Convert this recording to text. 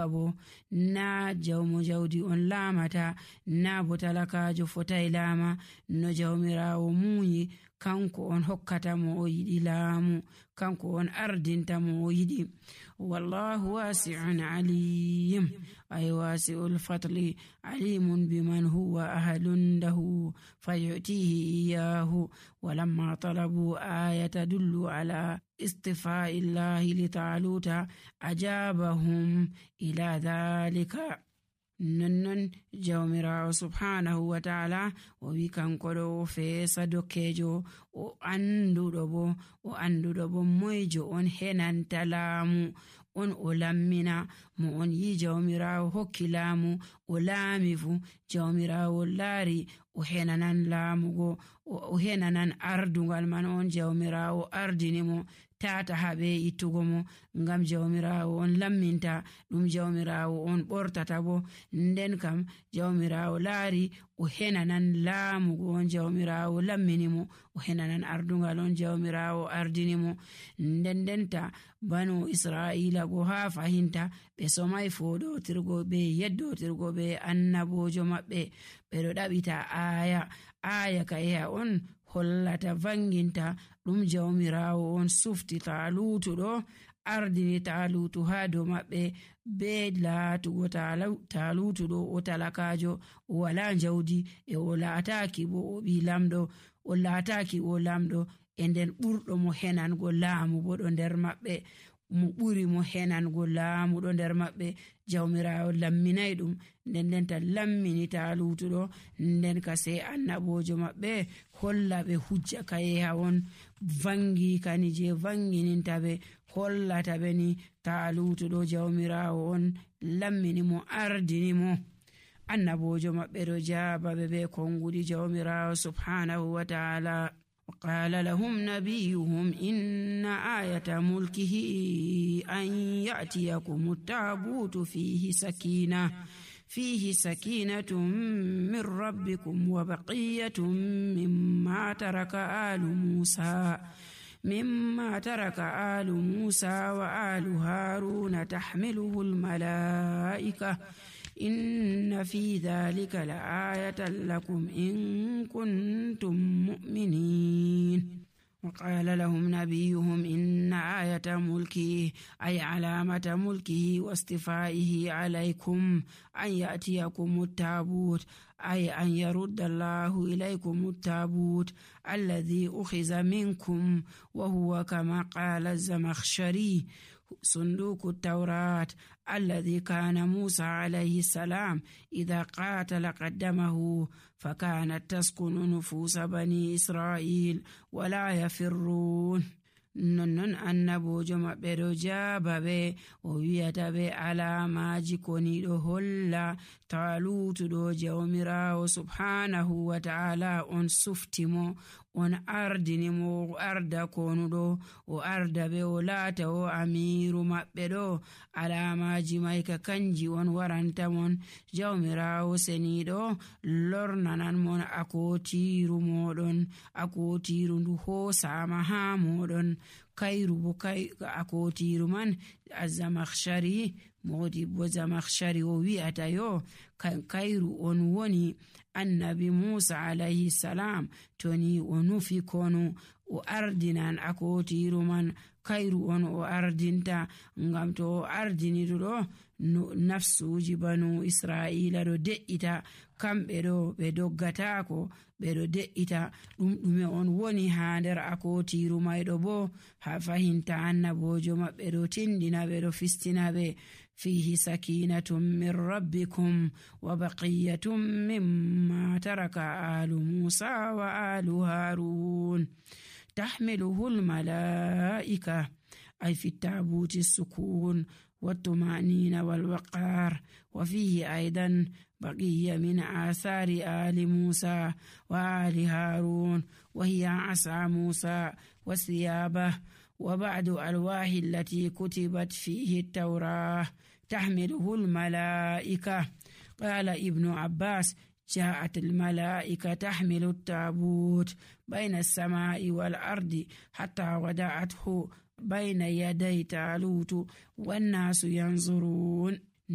bo na jawmo jawdi on laamata, na bo talakajo fotai laama. No jawmirawo muuyi kanko on hokkata mo o yiɗi laamu, kanko on ardinta mo o yiɗi. Wallahu wasi'un alim, ay wasi'ul fadli alimun biman huwa ahadun lahu fayutihi iyahu. Walamma talabu aya tadullu ala istifa'i llahi li taluta ajabahum ila dhalika. nonnon jawmirawo subhanahu wa ta'ala o wi kanko ɗo feesa dokkejo o anduɗo bo moyjo on henanta laamu on o lammina mo on yi jawmirawo hokki laamu o laami fu jawmirawo laari o henanan laamugo o henanan ardungal man on jawmirawo ardini mo tata habe ittugo mo ngam jawmirawo on lamminta ɗum jawmirawo on ɓortata bo nden kam jawmirawo laari o henanan laamugo on jawmirawo lammini mo o henanan ardungal on jawmirawo ardini mo ndendenta banu israila go ha fahinta ɓe somai foɗotirgo be yeddotirgo be annabojo maɓɓe ɓeɗo ɗaɓita aya kayeha on hollata vanginta ɗum jawmirawo on sufti talutu ɗo ardini talutu ha dow maɓɓe be laatugo talutu ɗo o talakajo o wala jawdi e o laataki bo o ɓi lamɗo o laataki o lamɗo e nden ɓurɗo mo henango laamu bo ɗo nder maɓɓe mo ɓuri mo henango laamu ɗo nder maɓɓe jawmirawo lamminay ɗum ndendenta lammini talutuɗo nden ka sey annabojo maɓɓe holla ɓe hujja kayeha on vangi kani je vangininta ɓe hollata ɓe ni talutuɗo jawmirawo on lammini mo ardini mo. Annabojo maɓɓe ɗo jaba ɓe be kongudi jawmirawo subhanahu wa ta'ala. وقال لهم نبيهم إن آية ملكه أن يأتيكم التابوت فيه سكينة من ربكم وبقية مما ترك آل موسى وآل هارون تحمله الملائكة إن في ذلك لآية لكم إن كنتم مؤمنين. وقال لهم نبيهم إن آية ملكه أي علامة ملكه واستفائه عليكم أن يأتيكم التابوت أي أن يرد الله إليكم التابوت الذي أخذ منكم وهو كما قال الزمخشري صندوق التوراة الذي كان موسى عليه السلام إذا قاتل قدمه فكانت تسكن نفوس بني إسرائيل ولا يفرون. nonnon annabojo maɓɓe ɗo jaaba ɓe o wiyata ɓe alamaji koniɗo holla talutuɗo jawmirawo subhanahu wa ta'ala on suftimo on ardinimo o arda konuɗo o arda ɓe o laata o amiru maɓɓe ɗo alamaji mai ka kanji on waranta mon jawmirawo seniɗo lornanan mon akotiru moɗon akotiru ndu hosama ha moɗon kayru bo akotiru man azamakhshari modi bo zamakhshari o wi'ata yo kayru on woni annabi Musa alayhi salam toni o nufi kono o ardinan akotiru man kayru on o ardinta ngam to o ardiniɗo nafsuji banu israila ɗo de'ita kamɓe ɗo ɓe doggatako ɓe ɗo de'ita ɗume on woni ha nder akotiru mayɗo bo ha fahinta annabojo maɓɓe ɗo tindina ɓe ɗo fistina ɓe fihi sakinatum min rabbikum wa baqiyatum mimma taraka alu musa wa alu harun tahmiluhu almalaika أي في التابوت السكون والطمأنينة والوقار. وفيه أيضا بقية من آثار آل موسى وآل هارون وهي عصا موسى وثيابه وبعض ألواح التي كتبت فيه التوراة تحمله الملائكة. قال ابن عباس جاءت الملائكة تحمل التابوت بين السماء والأرض حتى ودعته بين يدي تالوت والناس ينظرون.